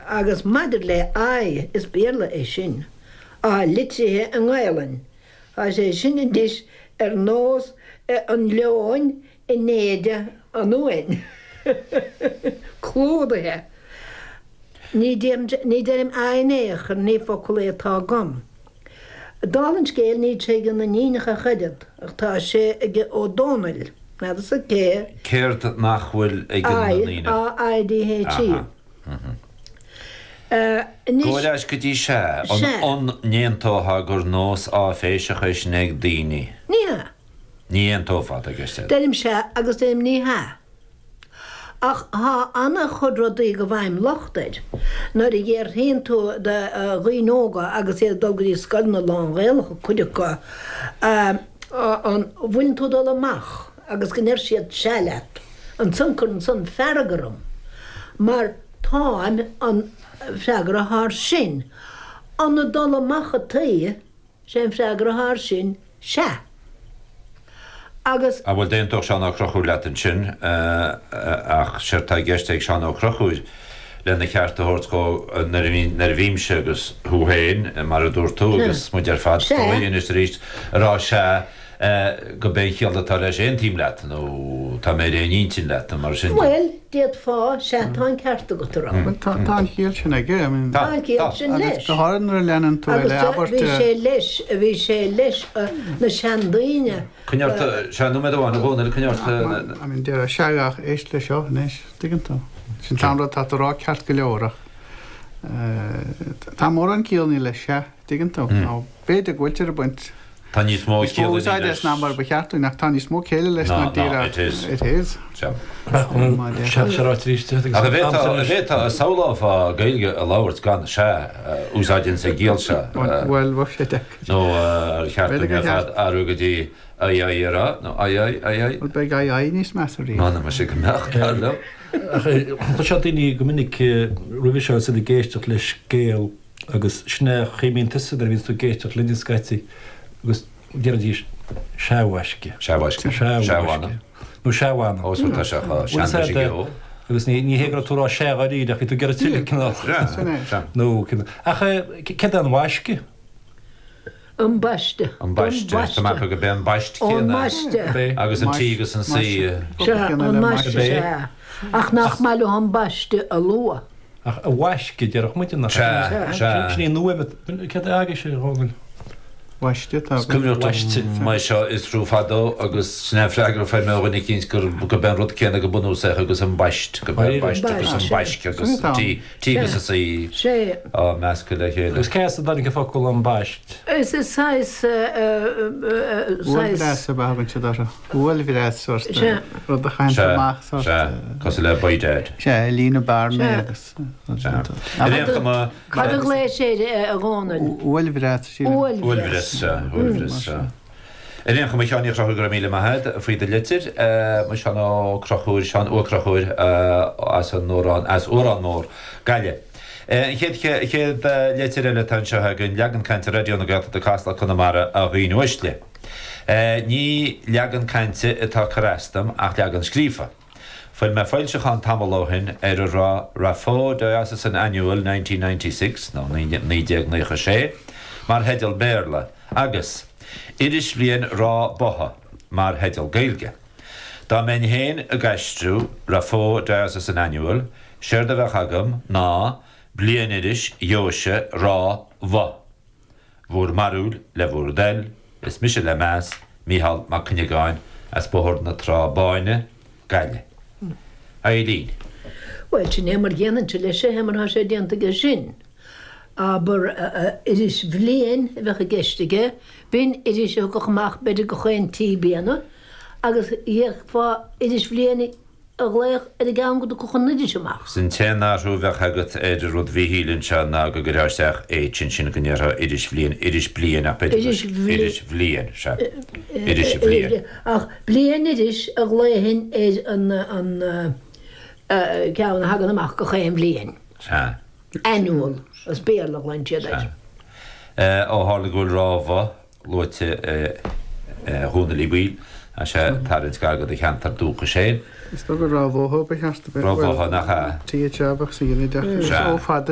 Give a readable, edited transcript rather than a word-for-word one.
Agus maidir le aye, is Béarla é sin, atá litrithe i nGaelainn. Tá sé sin anois ar nós an leoin in éide an uain. Clúdaithe. Ní deirim aye in aon chor, ní focal é atá agam. Dála an scéil, níl sé ag na n-iníonacha ach oiread, ach tá sé ag Ó Dónaill. N'fheadarsa cé. Céard nach bhfuil ag na I, ndaoine? A, I, D, H, E. Aha. Anois. Gabh ar ais go dtí sea. Sea. An n-aontófá gur nós áiféiseach é sin ag daoine? Ní hea. Ní aontófá, tá ceist agat. Deirim sea agus deirim ní hea. Ach thá ana-chuid rudaí go bhfaighim locht air. Nuair a dhéarfaíonn tú de dhaoine óga agus iad ag dul go dtí scoileanna lán-Ghaelacha, cuid acu, an bhfuileann tú ag dul amach agus go ndeir siad sea leat, ansan cuireann san fearg orm. Mar táim, an freagra athá air sin, an ag dul amach ataoi, Sé an freagra athá air sin, sea. Agus. Ah bhuel, d'aontódh Seán Ó Conchúir leat ansin, ach séard tá i gceist ag Seán Ó Conchúir, lena cheart a thabhairt dhó, nuair a bhíonn, nuair a bhímse agus thú féin, mar a dúirt tú, agus muid ar fad, is dóigh, anois arís, ag rá sea, gurb é an chiall atá leis aontaím leat, nó tá mé ar aon intinn leat, nó mar sin de. Bhuel, d'fhéadfá, sea, tá an ceart agat a rá. Bhuel, tá, tá an chiall sin aige, I mean. Tá an chiall sin leis. Agus go háirithe nuair a leanann tú é le abairt. Agus bhí sé leis, bhí sé leis na seandaoine. Coinnigh ort, sea, nóiméad amháin, a Dhónaill, coinnigh ort. I mean, déarfá sea ach éist le seo anois, tuigeann tú. Sin an t-aon rud atá tú a rá ceart go leor ach tá mórán ciallanna le sea. Tuigeann tú? Nó b'fhéidir go bhfuiltear ag baint Tá níos mó níos mó cialla úsáide leis. as ná mar ba cheart dúinn, ach tá níos mó céille leis ná ná díreach it is. It is. Sea. Má Sea, sea ráite arís duit agus Ach an an t-am bhféadfá, sin an leis. bhféadfá, an samhlófá Gaeilge a labhairt gan sea a úsáid ins an gciall seo? Bhuel, bheadh sé deacair. Nó ar cheart B'fhéidir dúinn gur ar fad cheart. athrú go dtí aye aye a rá, nó aye aye, aye aye? Bhuel, beidh aye aye níos measa riamh. M'anam muise go mbeadh, dar liom. Ach chloisfeá daoine go minic roimhe seo is iad ag éisteacht le scéal Agus sin é an chaoi a mbíonn tusa nuair a bhíonns tú ag éisteacht linn scaití agus deiridís sea a mhaisce. Sea a mhaisce. Sea a Sea a mhaisce. mhana. Nó sea a mhana. Ó, so tá sé chomh Bhuel, is sean leis ea, an gceo. Agus ní ní hé go raibh tú ag rá sea dháiríre ach bhí tú ag iarraidh tuilleadh cineál. Sea, Sin é. sea. Nó cineál. Ach céard é an mhaisce? An baiste. An baiste. Tá mé acu gurb é an baist An céanna. mbaiste. Agus an T agus an C. Sea, an mbaiste, sea. Ach nach maith leo an baiste a lua. Ach a mhaisce, déarfadh muide, nach ea? Sea, sea. Sin í an fhuaim, céard é agaibhse, a Dhónaill? Mhaiste, tá Is cuimhneach liom é seo a fhiosrú fadó agus sin é an freagra a fuair mé ó dhuine eicínt gur gurb é an rud céanna go bunúsach agus an baist, gurb é an baist agus an baisc agus an T, T agus an C á meascadh le chéile. Agus cé as a dtáinig an focal an baist? Is saghas, saghas. Uaillbhreas ab ea a thugann siad orthu. Uaillbhreas, sórt, rud a chaitheann amach, sórt. Sea, cosúil le by dad. Sea, líonadh bearnaí agus. Sea. Ar aon chuma. Cad a ghlaois air, a Dhónaill? Uaillbhreas, sílim. Uaillbhreas, sea. Uaillbhreas, sea. Ar aon chuma, a Sheáin Uí Chonchúir, go raibh míle maith agat faoi do litir. Mo Sheán Ó Conchúir, Seán Ua Conchúir as an Uarán, as Uarán Mór, Gaillimh. An chéad chéad litir eile atá anseo againn, leagan cainte Raidió na Gaeltachta Casla Conamara a dhaoine uaisle. Ní leagan cainte atá ag cur as dom ach leagan scríofa. Fuair mé foilseachán tamall ó shin ar a raibh Raphoe Diocesan Annual 1996, nó 1996, mar theideal Béarla agus Irisbhliain Ráth Botha mar theideal Gaeilge. Dá mbeinn féin ag aistriú Raphoe Diocesan Annual, séard a bheadh agam ná Bliainiris Dheoise Ráth Bhoth. Bhur mbarúil le bhur dtoil, is mise le meas, Mícheál Mac Cuinneagáin, as Bóthar na Trá Báine, Gaillimh. Eileen. Bhuel, sin é mar dhéanfainnse leis é, mar tá sé déanta aige sin. Abair, iris bhliain a bheadh i gceist aige, b'in iris a thiocfadh amach b'fhéidir gach aon trí bliana, agus d'fhéadfá iris bhliain a ghlaoch ar an gceann go dtiocfadh an iris amach. 'S an t-aon athrú a bheadh agat ar an rud Mhíchíl anseo ná go gcuirfeá isteach H ansin go ndéarfá iris bhliain, iris bliain ach b'fhéidir Iris gur iris bhliain, sea. Iris bhliain. Ach bliain-iris a ghlaofainn ar an an ceann a thagann amach gach aon bhliain. Sea. Annual, as Béarla a ghlaonn siad air. Sea. Ó tharla go bhfuil Ráth Bhoth luaite a Dhónaill Uí Bhaoill, tá sé ag tarraingt gar do do cheantar dúchais féin. Is dóigh gur Ráth Bhotha ba cheart a bheith. Ráth Bhotha, nach ea? TH a bheadh sa ghinideach. Sea. Ó fada.